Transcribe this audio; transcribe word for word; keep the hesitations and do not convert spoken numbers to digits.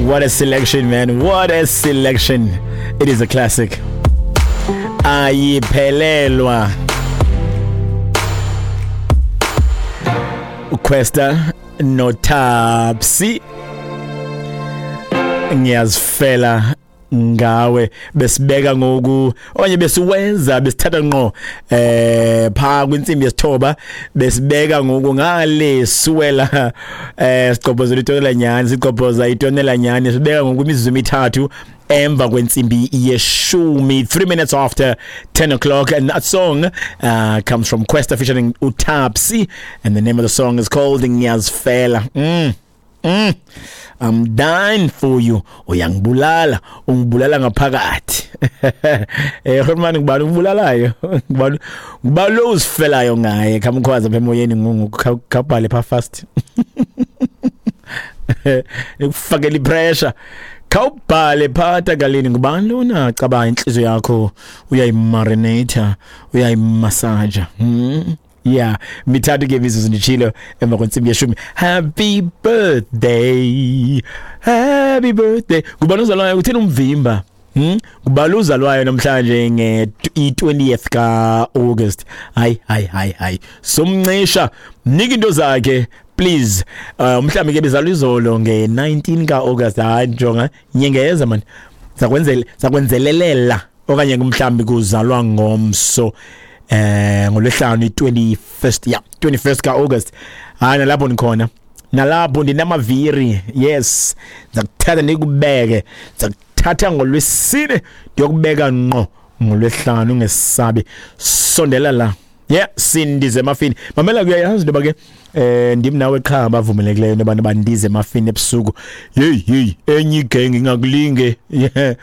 What a selection, man. What a selection. It is a classic. Ayiphelelwa. Kwesta noTapsi. Ngiyazifela ngawe. Besibeka ngoku okanye besiwenza besithatha ngqo eh pha kwinsimbi yesithoba, besibeka ngoku ngale suwela eh sigqobhozela itonela nyani, sigqobhoza itonela nyani, sibeka ngoku imizuzu emithathu emva kwentsimbi yeshumi, three minutes after ten o'clock. And that song uh, comes from Kwesta featuring uTapsi, and the name of the song is called Ngiyazifela. mm. Mm. I'm dying for you. Uyangibulala, ungibulala ngaphakathi. Eh Herman, ngibani ungibulalayo? Ngibani ngibani lo uzifelayo ngaye? Khamkhwaza apha emoyeni ngungu khabhale pha fast. Nikufakela ipressure. Khawubhale phatha galini, ngubani lona cabanga inhliziyo yakho uyayimarinate, uyayimassage. Mm. Yeah, mithathu ke imizuzu nditshilo emva kwentsimbi yeshumi. Happy birthday, happy birthday. Ngubani ozalwayo? Utheni umvimba? Hmm? Ngubani ozalwayo namhlanje nge-twentieth ka-August? Hayi, hayi, hayi, hayi. Somncisha, mnika into zakhe, please. Uh, mhlawumbi ke bezalwa izolo nge-nineteen ka-August. Hayi, jonga, nyengeza man. Sakwenzele, sakwenzelelela okanye mhlawumbi kuzalwa ngomso. Eh ngolwesihlanu i-twenty-first, yeah, twenty-first ka-August. Hayi, nalapho nikhona, nalapho ndinamaviri. Yes, ndizakuthatha ndikubeke, ndizakuthatha ngolwesine ndiyokubeka ngqo ngolwesihlanu, ungesabi, sondela la. Yeah, sindize emafini. Mamela, kuyayazi into yoba ke eh ndim nawe qha abavumelekileyo into yoba bandize emafini ebusuku. Hey hey, enye igenge ingakulinge. Yeah,